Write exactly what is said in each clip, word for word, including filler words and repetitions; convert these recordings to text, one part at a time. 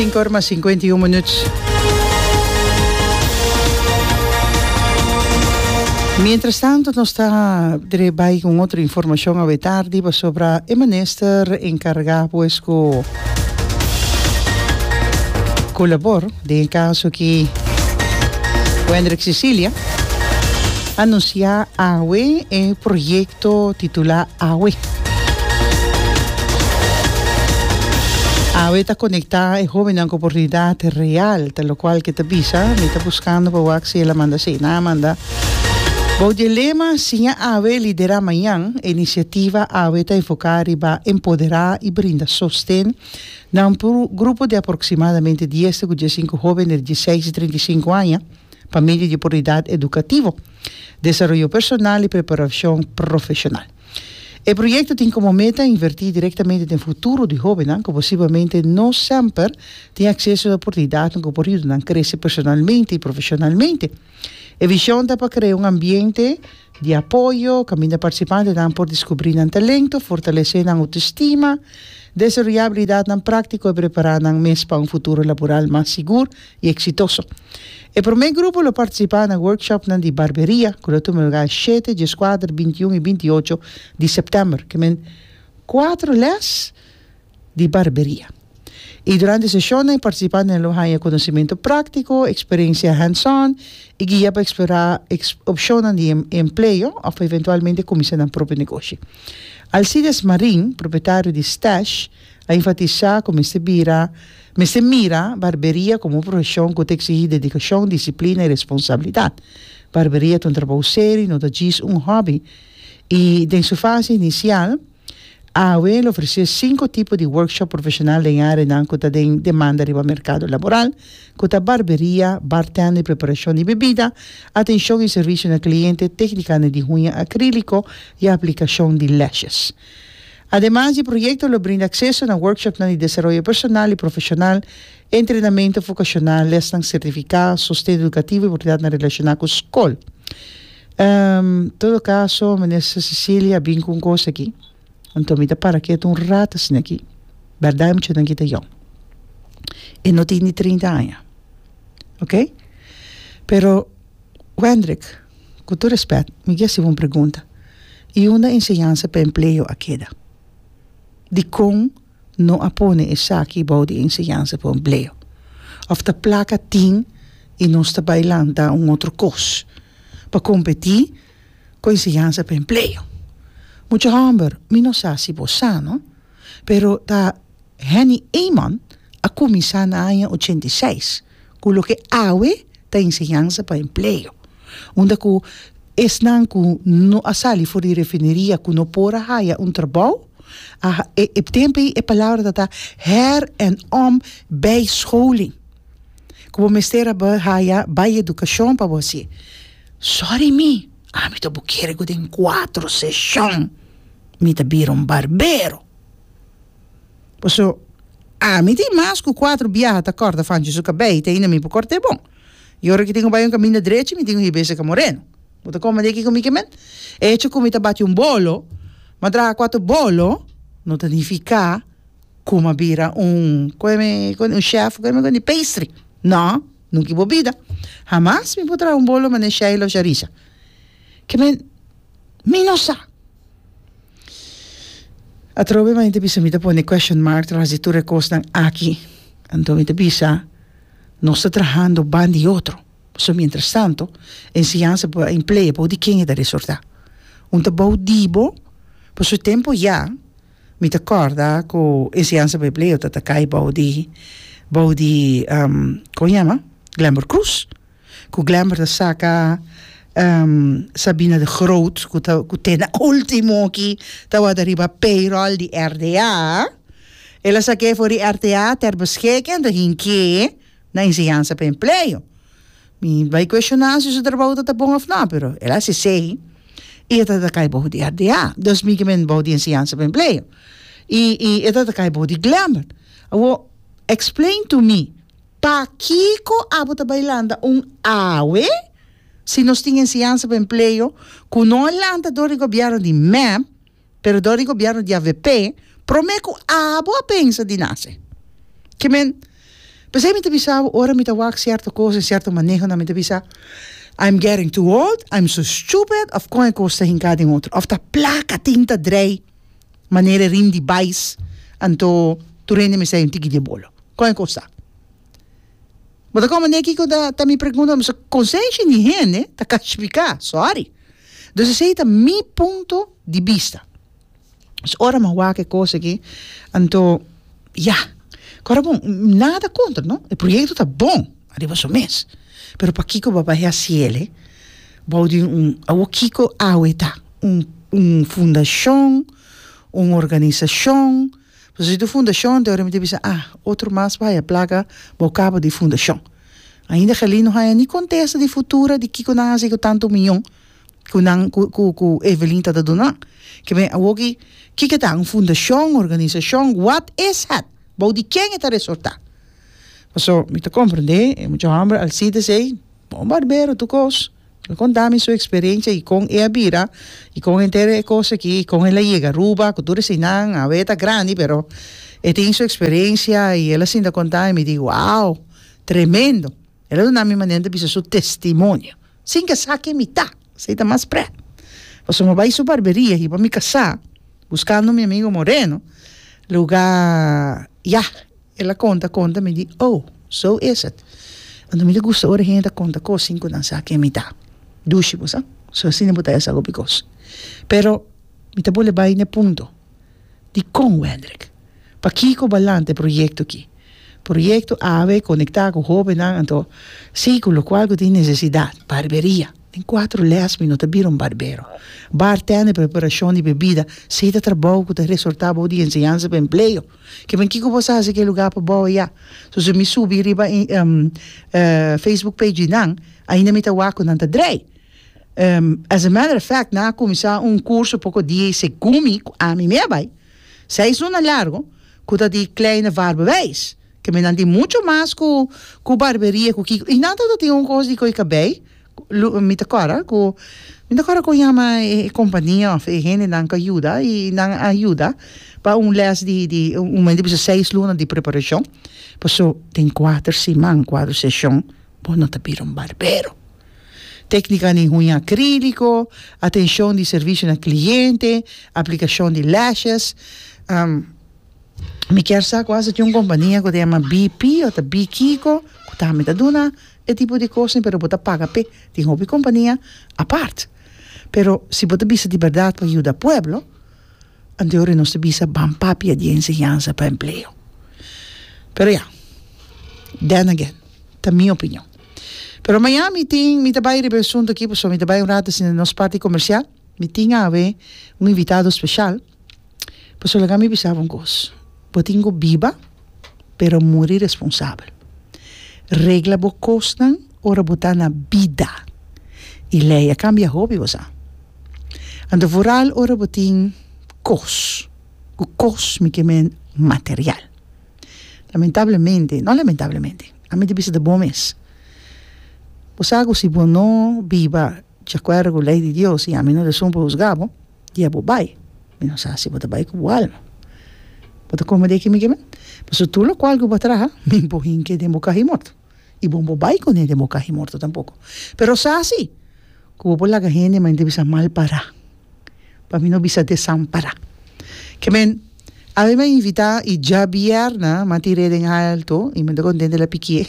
Sinku or mas sinkuenta i un minüt. Mientras tanto nos ta dre bai ku un otro informashon awe tardi pasobra e minister enkargá pues ku ku labor den e kaso aki Wendrick Cecilia anunsiá awe e proyekto titulá Awe. Awe ta konektá e hóbennan ku oportunidat real, ta lokual ke ta bisa. Mi ta buskando pa wak si el a manda. Sí, nan a manda. Bou di e lema Siña awe, liderá mañan, e inisiativa awe ta enfoká riba empoderá i brinda sosten na un grupo di aproksimadamente dies te ku diesinku hóben entre dieseis i trinta i sinku aña pa medio di oportunidat edukativo, desaroyo personal i preparashon profeshonal. E proyekto tin komo meta invertí direktamente den futuro di hóbennan ku posiblemente no semper tin akseso na oportunidatnan ku por yuda nan krese personalmente i profeshonalmente. E vishon ta pa krea un ambiente di apoyo kaminda partisipantenan por diskubrí nan talento, fortalesé nan outestima, desaroyá abilidatnan práktiko i prepará nan mes pa un futuro laboral mas sigur i eksitoso. E promé grupo lo partisipá na workshopnan di barberia ku lo tuma lugá shete, dieskuater, bintiun i binti ocho di sèptèmber, ke men kuater lès di barberia. I durante e seshonnan e partisipantenan lo haña konosementu práktiko, eksperensia hands-on i guia pa eksplorá opshonnan di empleo òf eventualmente kuminsá nan propio negoshi. Alcides Marin, propietario di Stash, a enfatisá ku mester bira mester mira barberia komo un profeshon ku ta eksigí dedikashon, disiplina i responsabilidat. Barberia ta un trabou serio, no ta djis un hòbi. I den su fase inisial, awe lo ofresé sinku tipo di workshop profeshonal den e áreanan ku ta den demanda riba merkado laboral, ku ta barberia, bartender i preparashon di bebida, atenshon i servisio na kliente, téknikanan di huña akríliko i aplikashon di lashes. Ademas, e proyekto lo brinda akseso na workshopnan di desaroyo personal i profeshonal, entrenamentu vokashonal, lèsnan sertifiká, sosten edukativo i oportunidatnan relashoná ku skol. Todo kaso, Minister Cecilia a bin ku un kos aki, anto mi ta para ketu un rat asina aki. Bèrdat e muchanan aki ta yòn. E no tin ni trinta aña. Oké? Pero, Wendrick, ku tur rèspèt, mi ke hasi bo un pregunta. I unda enseñansa pa empleo a keda? Dikon no a pone esaki bou di enseñansa pa empleo? Òf ta plaka tin i nos ta bai lanta un otro kos pa kompetí ku enseñansa pa empleo? Mucha hòmber, mi no sa si bo sa no, pero ta Henny Eman a kuminsá na aña ochenta i seis ku loke awe ta enseñansa pa empleo, unda ku esnan ku no a sali for di refineria ku no por a haya un trabou, a e e tempu ei e palabra ta ta her en om bijscholing, ku bo mester a haya bai edukashon pa bo hasié. Sorry mi, ami ta bo kere ku den kuatro seshon mi ta bira un barbero. Paso ami tin mas ku kuatro biaha ta kòrta Fanchi su kabei te ainda mi por kòrt'é bon. I ora ki tin ku bai un kaminda drechi mi tin ku hib'é seka Moreno. Bo ta komprendé kiko mi ke men? E hecho ku mi ta bati un bolo, m'a traha kuater bolo, no ta nifiká ku m'a bira un kue un chef di pastry. No, nunka bo bida. Hamas mi por traha un bolo manera Sheila òf Sharisa. Ke men, mi no sa. Atrobe mi ta bisa mi ta pone question mark tras di tur e kosnan aki. Anto mi ta bisa nos ta trahando banda di otro. Pasobra mientrastanto enseñansa pa empleo bou di ken e ta resortá? Un ta bou di bo, pasobra e tempu ya mi ta kòrda ku enseñansa pa empleo ta ta kai bou di bou di kon yama? Glenbert Croes. Ku Glenbert a saka Sabina de Groot ku ta ku te na ultimo aki tabata riba payroll di R D A. El a sak'é for di R T A ter beschikking anto hink'é na enseñansa pa empleo. Mi bai cuestioná si su trabou ta bon òf no, pero el a hasi esei i e tabata kai bou di R D A. Dus mi ke men bou di enseñansa pa empleo. I i e tabata kai bou di Glenbert. Awor, explain to me, pakiko abo ta bai lanta un awe si nos tin enseñansa pa empleo ku no a lanta dor di gobièrnu di M E P, pero dor di gobièrnu di A V P, promé ku abo a pensa di nase? Ke men, P'esei mi ta bisa bo, ora mi ta wak sierto kos en sierto manehonan mi ta bisa, I'm getting too old, I'm so stupid, òf kon e kos ta hinká den otro. Òf ta plaka tin ta drei manera e rim di bais, anto tur hende mester hay un tiki di e bolo. Kon e kos ta? Bo ta komprendé kiko ta ta mi pregunta? Pasobra konsenshi di hende ta kashpiká, sorry. Dus esei ta mi punto di bista. Dus ora mi a wak e kos aki, anto ya, kòrda bon, nada kontra no, e proyekto ta bon ariba su mes, pero pakiko bo a bai hasiel bou di un, awor kiko awe ta? Un un fundashon, un organisashon, pasobra si ta un fundashon te ora mi ta bisa ah, otro mas bo haya plaka bo kaba di fundashon. Ainda Gelin no haya ni kontesta di futura di kiko nan a hasi ku tantu miyon. Ku nan ku ku ku Evelyn ta ta duna. Ke men awoki kiko ta un fundashon, organisashon, what is het? Bou di ken e ta resortá? Paso mi ta komprendé e mucha hòmber Alcides ei, bon barbero tur kos. El konta mi su eksperensia i kon e a bira i kon henter e kos aki i kon el a yega Aruba ku tur eseinan. Awe e ta grandi pero e tin su eksperensia i el a sinta konta mi, mi di wow, tremendo. El a duna mi manera di bisa su testimonio. Sin ke sa ken mi ta, esei ta mas prèt. Pasobra mi bai su barberia hiba mi kasá, buskando mi amigo Moreno, lugá, ya, el a konta konta, mi di, oh, so is it. Anto mi ta gusta ora hende ta konta kos sin ku nan sa ken mi ta. Dushi bo sa, so asina bo ta hasi hopi kos. Pero mi ta bole bai n'e punto, dikon Wendrick? Pakiko balanta e proyekto aki? Proyekto awe konektá ku hóbennan anto sí ku lokual ku tin nesesidat, barberia. Den kuatro lès mi no ta bira un barbero. Bartender, preparashon di bebida, sí ta trabou ku ta resortá bou di enseñansa pa empleo. Ke men kiko bo sa hasi ku e lugá pa bou ayá? So si mi subi riba Facebook page di nan, ainda mi ta wak ku nan ta drei. As a matter of fact, nan a kuminsá un kurso poko dia i segun mi ku ami mi a bai, seis luna largu, ku ta di kleine vaarbewijs. Ke men nan tin mucho mas ku ku barberia ku kiko. I nan tabata tin un kos di koe kabei, lu mi ta kòrda ku mi ta kòrda kon yama e kompania òf e hendenan ku a yuda i nan a yuda pa un lès di di un men ta bisa seis luna di preparashon. Paso den kuater siman, kuater seshon bo no ta bira un barbero. Téknika di huña akríliko, atenshon di servisio na kliente, aplikashon di lashes. Mi kier sa ku asa tin un kompania ku ta yama B P o ta B kiko ku tambe ta duna e tipo di kosnan pero bo ta paga p'e. Tin hopi kompania apart. Pero si bo ta bisa di bèrdat pa yuda pueblo, anto ora nos ta bisa ban papia di enseñansa pa empleo. Pero ya, then again, ta mi opinion. Pero maña mi tin, mi ta bai riba e asunto aki pasobra mi ta bai un rato asina nos parti komersial. Mi tin awe un invitado speshal. Pasobra laga mi bisa bo un kos, bo tin ku biba pero muri responsabel. Regla bo kosnan ora bo ta na bida. I lei a kambia hopi, bo sa. Anto vooral ora bo tin kos, ku kos mi ke men material. Lamentablemente, no lamentablemente, ami ta bisa ta bo mes. Bo sa ku si bo no biba di akuerdo ku lei di Dios i ami no ta esun pa husga bo, Dia bo bai, mi no sa si bo ta bai ku bo alma. Bo ta kome di aki mi kimen? Pasobra tur lokual ku bo a traha, mi bo hinke den bo kaha morto. I bo no bai kuné den bo kaha morto tampoko. Pero sa si ku bo por laga hende manera bisa mal pará, pa mi no bisa desampará. Kimen, awe mi a invitá i djabièrnè mi a tir'é den alto i mi ta kontento el a pikié.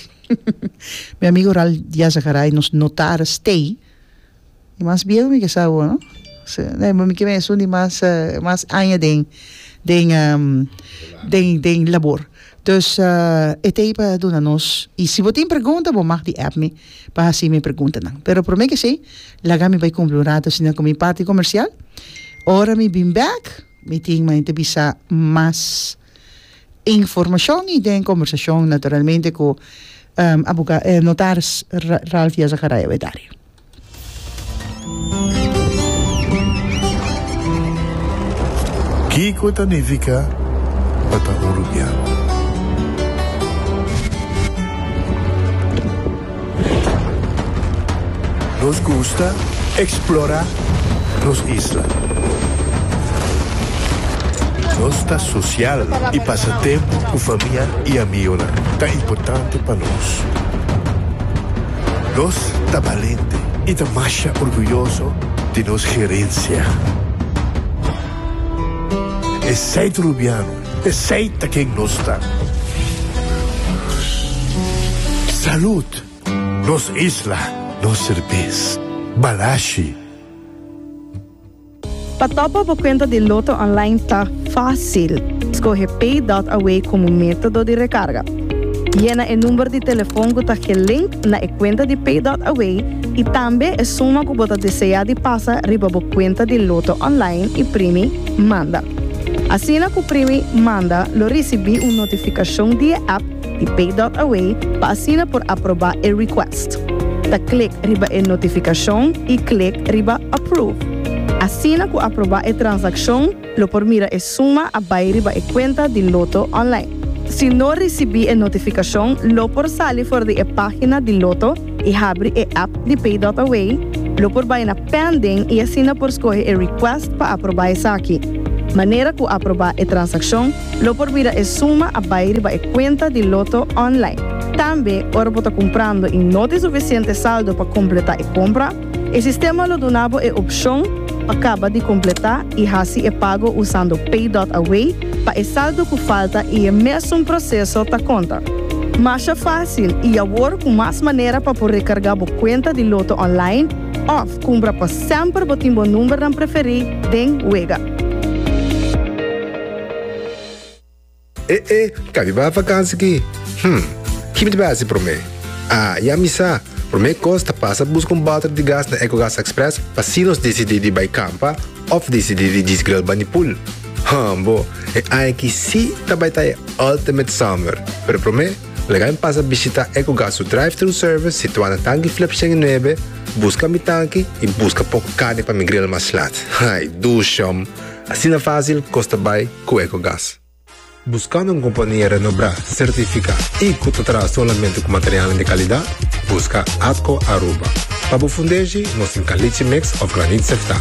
Mi amigo Ral Diazagaray, nos notaris tei. Di mas bieu mi ke sa awor no. Mi ke esun di mas mas aña den den den den labor. Dus e ta ei pa duna nos i si bo tin pregunta bo mag di app mi pa hasi mi preguntanan. Pero prome ke esei laga mi bai kumpli un rato asina ku mi parti komersial. Ora mi bin bek mi tin mi ta bisa mas informashon i den kombersashon naturalmente ku aboga notaris Ralph Yazacaray Awetari. Kiko ta nifiká pa ta un rubiano? Nos gusta eksplorá nos isla. Nos ta social y pasa tempo cu famia y amigo ta importante pa nos. Nos ta balente y ta mas orguyoso di nos herencia. Esey ta Rubiano, esey ta ken nos ta. Salud, nos isla, nos cerbes, Balashi. Pa top up bo cuenta di Lotto Online ta facil. Scoge Pay punto A W como metodo di recarga. Yena e number di telefon cu ta gelink na e cuenta di Pay punto A W y tambe e suma cu bo ta desea di pasa riba bo cuenta di Lotto Online y primi Manda. Asina cu primi Manda, lo ricibi un notificacion di app di Pay punto A W pa asina por aproba e request. Ta click riba e notificacion y click riba Approve. Asina cu aproba e transaccion, lo por mira e suma a bay riba e cuenta di Lotto Online. Si no ricibi e notificacion, lo por sali for di e pagina di Lotto y habri e app di Pay punto A W, lo por bay na Pending y asina por scoge e request pa aproba esaki. Manera cu aproba e transaccion, lo por mira e suma a bay riba e cuenta di Lotto Online. Tambe, ora bo ta cumprando y no tin suficiente saldo pa completa e compra, e sistema lo duna bo e opcion pa caba di completa y haci e pago usando Pay punto A W pa e saldo cu falta y e mesun proceso ta conta. Mas facil y awor cu mas manera pa por recarga bo cuenta di Lotto Online of cumpra pa semper bo tin bo number preferi den wega. Eh, eh, cabi ba vakantie aki? Hmm, kico mi ta haci prome? Ah, ya mi sa. Prome cos ta pasa busca un boter di gas na EcoGas Express pa si nos dicidi di bay campa of dicidi di grill band'i pool. Hambo, e aki si tambe ta e ultimate summer. Pero prome, laga mi pasa bishita EcoGas su drive-thru service situa na Tanki Flip nuebe, busca mi tanki y busca poco carni pa mi grill mas laat. Ai, dushi. Asina facil, cos ta bay cu EcoGas. Buscando un compania renombra, certifica y cu ta traha solamente cu material di calidad? Busca Atco Aruba. Pa bo fundeshi, nos tin caliche mix of graniet sefta.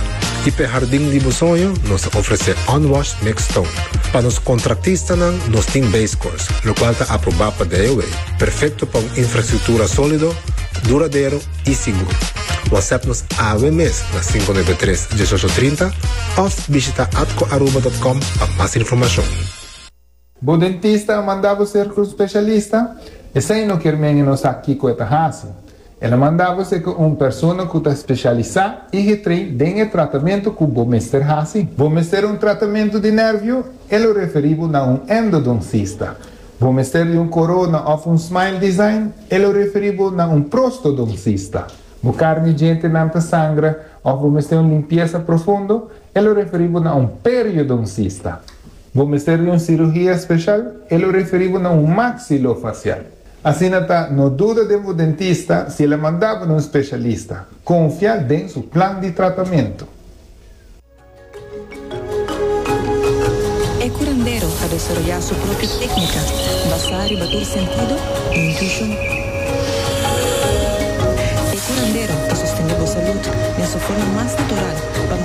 Y pa hardin di bo soño, nos ta ofrece unwashed mixed stone. Pa nos contratistanan, nos tin base course, locual ta aproba pa D O E. Perfecto pa un infrastructura solido, duradero y sigur. WhatsApp nos awe mes na cinco nuebe tres diesocho trinta of bishita atcoaruba punto com pa mas informacion. Bo dentista a manda bo serca un specialista? Esey no kiermen no sa kico e ta haci. El a manda bo serca un persona cu ta specialisa y getrain den tratamento cu bo mester haci. Bo mester un tratamento di nervio? El a referi bo na un endodoncista. Bo mester di un corona of un smile design? El a referi bo na un prostodoncista. Bo carni djentenan ta sangra of bo mester un limpiesa profundo? El a referi bo na un periodoncista. Bo mester di un cirugia special? El a referi bo na un maxilofacial. Asina ta, no duda di un dentista si el a manda bo na un specialista. Confia den su plan di tratamento. E curandero a desaroya su propio tecnica, basa riba tur sentido y intuicion. E curandero ta sostene bo salud den su forma mas natural pa